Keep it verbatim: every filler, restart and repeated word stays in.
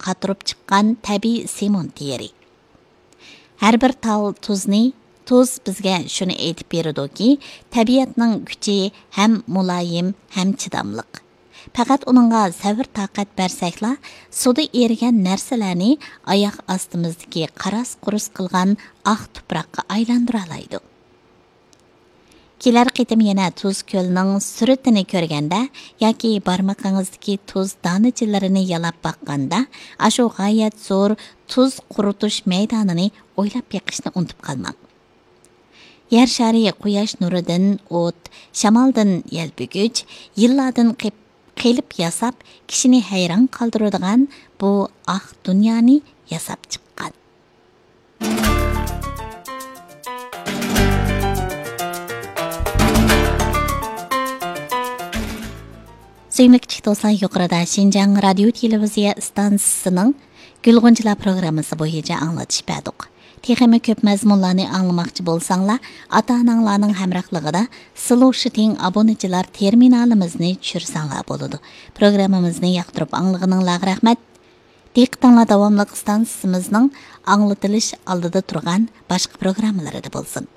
قاتۇرۇپ چىققان تەبىئىي سېمونت يېرى. ھەر بىر تال تۇزنى، تۇز بىزگە شۇنى ئېيتىپ بېرىدۇكى، تەبىئەتنىڭ كۈچى ھەم مۇلايىم، ھەم چىداملىق. پەقەت ئۇنىڭغا سەۋر-تاقەت بەرسەكلا، سۇدا ئېرىگەن نەرسىلەرنى ئاياق ئاستىمىزدىكى قاراس-قۇرۇس قىلغان ئاق تۇپراققا ئايلاندۇرالايدۇ. كېلەر قېتىم يەنە تۇز كۆلنىڭ سۈرىتىنى كۆرگەندە ياكى بارمىقىڭىزدىكى تۇز دانىچىلىرىنى يالاپ باققاندا، ئاشۇ غايەت زور تۇز قۇرۇتۇش مەيدانىنى ئويلاپ بېقىشنى ئۇنتۇپ قالماڭ. يەر شارى قۇياش نۇرىدىن ئوت، شامالدىن يەلپۈگۈچ، يىللاردىن قېپ-، قېلىپ ياساپ، كىشىنى ھەيران قالدۇرىدىغان بۇ ئاق دۇنيانى ياساپ چىققان. سۆيۈملۈك كىچىك دوستلار، يۇقىرىدا شىنجاڭ رادىيو تېلېۋىزىيە ئىستانسىسىنىڭ گۈل غۇنچىلار پروگراممىسى بويىچە ئاڭلىتىش بەردۇق. تېخىمۇ كۆپ مەزمۇنلارنى ئاڭلىماقچى بولساڭلار، ئاتا-ئاناڭلارنىڭ ھەمراھلىقىدا سلوشىتىڭ ئابۇنىچىلار تېرمىنالىمىزنى چۈشۈرسەڭلار بولىدۇ. پروگراممىمىزنى ياقتۇرۇپ ئاڭلىغىنىڭلارغا رەھمەت. دىققىتىڭلار داۋاملىق ئىستانسىسىمىزنىڭ ئاڭلىتىلىش ئالدىدا تۇرغان باشقا پروگراممىلىرىدا بولسۇن.